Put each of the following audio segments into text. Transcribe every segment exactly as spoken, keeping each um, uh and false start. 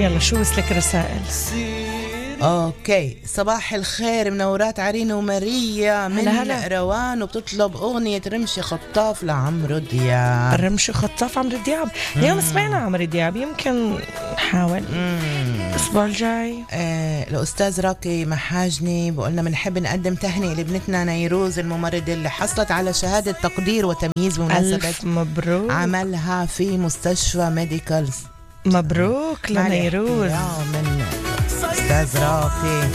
يلا شو وصلك رسائل؟ اوكي، صباح الخير، منورات عرين وماريا من هلا. روان، وبتطلب اغنية رمشي خطاف لعمرو دياب. رمشي خطاف عمرو دياب. اليوم سمعنا عمرو دياب، يمكن نحاول الاسبوع الجاي. آه الاستاذ راكي محاجني بقولنا بنحب نقدم تهنئة لابنتنا نيروز الممرضة اللي حصلت على شهادة تقدير وتمييز بمناسبة ألف مبروك عملها في مستشفى ميديكالز. مبروك لنيروز من أستاذ راقي.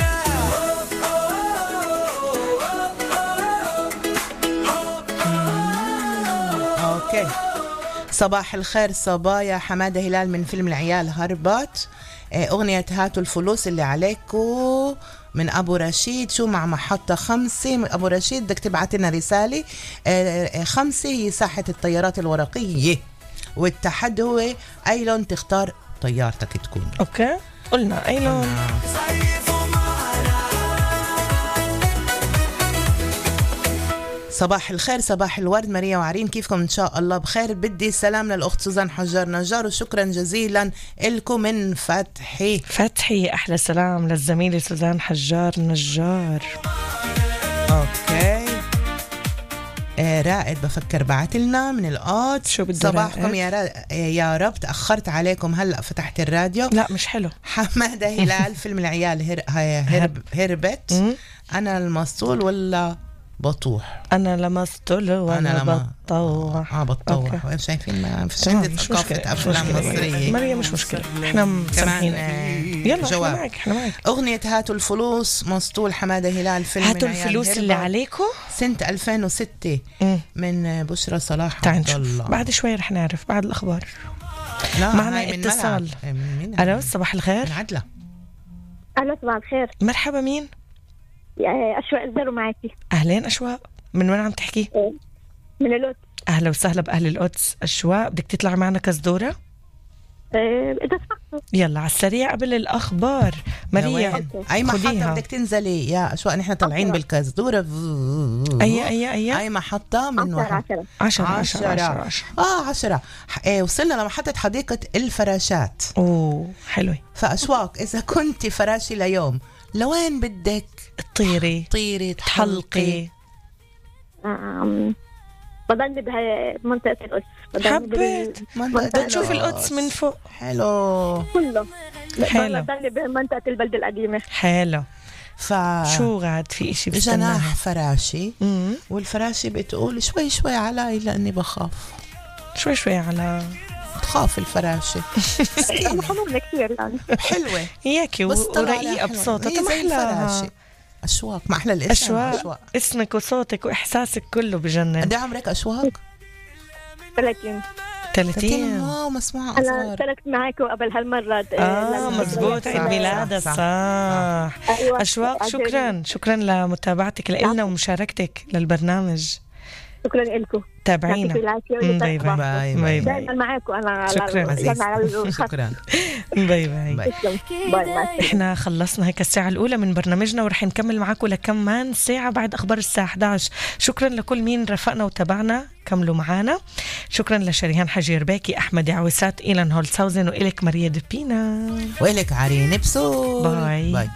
أوكي، صباح الخير صبايا، حمادة هلال من فيلم العيال هربت، أغنية هاتوا الفلوس اللي عليكو من أبو رشيد. شو مع محطة خمسة من أبو رشيد، بدك تبعت لنا رسالة. خمسة هي ساحة الطيارات الورقية، والتحدي هو أي لون تختار طيارتك تكون. أوكي، قلنا أي لون. صباح الخير، صباح الورد ماريا وعرين، كيفكم؟ إن شاء الله بخير. بدي سلام للأخت سوزان حجار نجار، وشكرا جزيلا لكم من فتحي. فتحي أحلى سلام للزميلة سوزان حجار نجار. أوكي، آه رائد بفكر بعت لنا من القط. شو بده صباحكم يا, را... يا رب، تأخرت عليكم، هلأ فتحت الراديو. لا مش حلو. حمادة هلال فيلم العيال هر... هرب... هربت. أنا المسطول ولا بطوح؟ أنا لمسطول وأنا لما... بطوح. آه بطوح. وين شايفين ما فيش عندي ثقافة أفلام مصرية. مريم مش مشكلة، إحنا مسامحين. يلا جواب. إحنا معك إحنا معك. أغنية هاتوا الفلوس، مسطول حمادة هلال فيلم هاتوا الفلوس اللي عليكم سنة ألفين وستة من بشرى صلاح. تعال نشوف بعد شوي رح نعرف بعد الأخبار. معنا اتصال. ألو صباح الخير. عدلة. ألو صباح الخير. مرحبا، مين؟ أشواق الزرو معكي. أهلين أشواق، من وين عم تحكي؟ من القدس. أهلا وسهلا بأهل القدس. أشواق بدك تطلع معنا كزدورة؟ إذا سمحتوا. يلا على السريع قبل الأخبار. مريم أي محطة بدك تنزلي يا أشواق؟ نحن طالعين بالكزدورة. أي أي أي أي محطة؟ من عشرة عشرة عشرة عشرة آه عشرة. إيه وصلنا لمحطة حديقة الفراشات. أوه حلوة. فأشواق إذا كنت فراشي ليوم لوين بدك تطيري تطيري تحلقي؟ أم... بضلني بمنطقة القدس. حبيت بدك تشوف القدس من فوق. حلو كله. حلو. بضلني بمنطقة البلد القديمة. حلو. ف شو غاد في إشي جناح فراشي. مم. والفراشي بتقول شوي شوي علي لأني بخاف. شوي شوي على تخاف الفراشة. حلوة كثير يعني. حلوة هيك ورقيقة بصوتها محلى. أشواق ما أحلى الاسم. أشواق. أشواق اسمك وصوتك وإحساسك كله بجنن. قد عمرك أشواق؟ ثلاثين. ثلاثين. واو مسموعة أصغر. أنا اشتركت معاكم قبل هالمرة. آه مزبوط، عيد ميلادها صح, صح. صح. أيوة. أشواق شكرا شكرا لمتابعتك لنا ومشاركتك للبرنامج. شكرا لكم. تابعينا. باي باي باي. دائما معاكم أنا. شكرا شكرا. باي باي. باي. احنا خلصنا هيك الساعة الأولى من برنامجنا، ورح نكمل معاكم لكمان ساعة بعد أخبار الساعة إحدى عشر. شكرا لكل مين رفقنا وتابعنا، كملوا معانا. شكرا لشريهان حجير باكي، أحمد عويسات، إيلان هولتساوزن، وإلك ماريا دبينا، وإلك عرين بسول. باي, باي.